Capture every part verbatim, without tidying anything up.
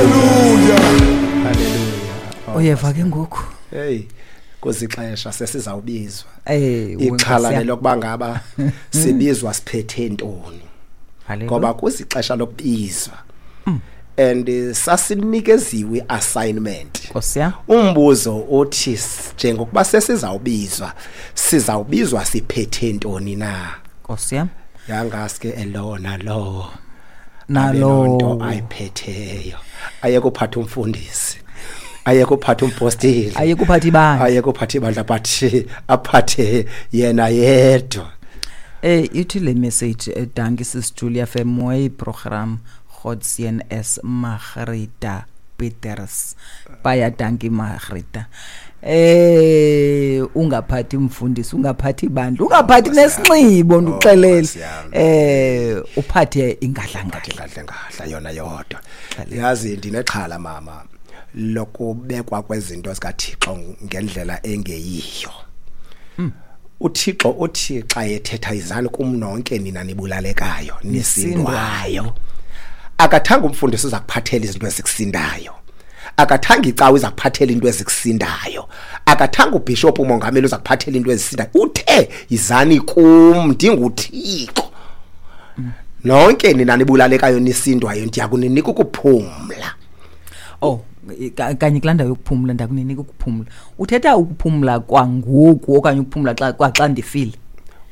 Hallelujah. Hallelujah. Uyeva ke ngoku. Hey, kuzixesha sesizawubizwa. Eh Ixhala lelokuba ngaba sibizwa siphethe ntoni. Ngoba kuzixesha lokubizwa. And eh, sasinikeziwe assignment. Nkosi yam. Umbuzo uthi njengokuba sesizawubizwa, sizawubizwa siphethe ntoni na? Nkosi yam. Yangaske elona lo Nalo nto ayiphetheyo. Ayekuphatha umfundisi. Ayekuphatha umpostile. Ayekuphatha ibandla. Ayekuphatha ibandla, but aphathe yena yedwa. Eh ithi le message, eh, dankie Sis Julia vir mooi program. God seën is Margarita Peters. Baie dankie, Margarita. Eh ungaphathi umfundisi, ungaphathi ibandla, ungaphathi nesinxibo, ndikuxelele. Nkosi yami. Eh uphathe ingadlangadla. Ngadla ngadla yona yodwa. Yazi, ndinexhala, mama, lokubekwa kwezinto zikaThixo ngendlela engeyiyo. UThixo uthi xa ethetha, "Izani kum nonke nina nibulalekayo nisindwayo." Akathanga umfundisi uza kuphathela izinto ezikusindayo, akathanga icawe iza kuphathela into ezikusindayo, akathanga ubishop, umongameli uza kuphathela into ezisindayo. Uthe, "Izani kum, ndinguThixo, nonke nina nibulalekayo nisindwayo, ndiyakuninika ukuphumla." Oh, ka- kanye kulaa ndawo yokuphumla, ndakuninika ukuphumla. Uthetha ukuphumla kwangoku okanye ukuphumla xa kwaxa ndifile?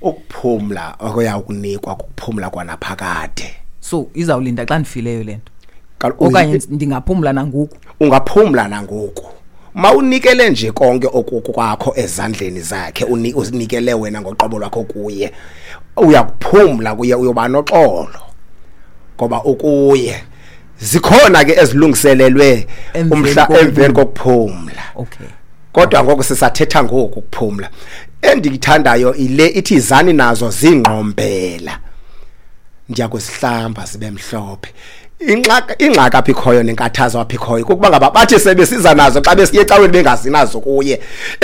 Ukuphumla okuya kunikwa kukuphumla kwanaphakade. So izawulinda xa ndifileyo le nto? Kal- Okanye ndingaphumla nangoku? Ungaphumla nangoku mawunikele nje konke okukwakho ezandleni zakhe, uni- uzinikele wena ngoqobo lwakho kuye, uyakuphumla kuye, uyoba noxolo ngoba ukuye. Zikhona ke ezilungiselelwe Emveni umhla kokuphumla. Emveni kokuphumla. Okay. Kodwa ngoku sisathetha ngoku ukuphumla. Endikuthandayo ile ithi, "Izani nazo zingqombela, ndiyakuzihlamba zibe mhlophe." Ingxaki, ingxaki apha ikhoyo nenkathazo apha ikhoyo kukuba ngaba bathi sebesiza nazo xa besiye ecaweni bengazinazo kuye.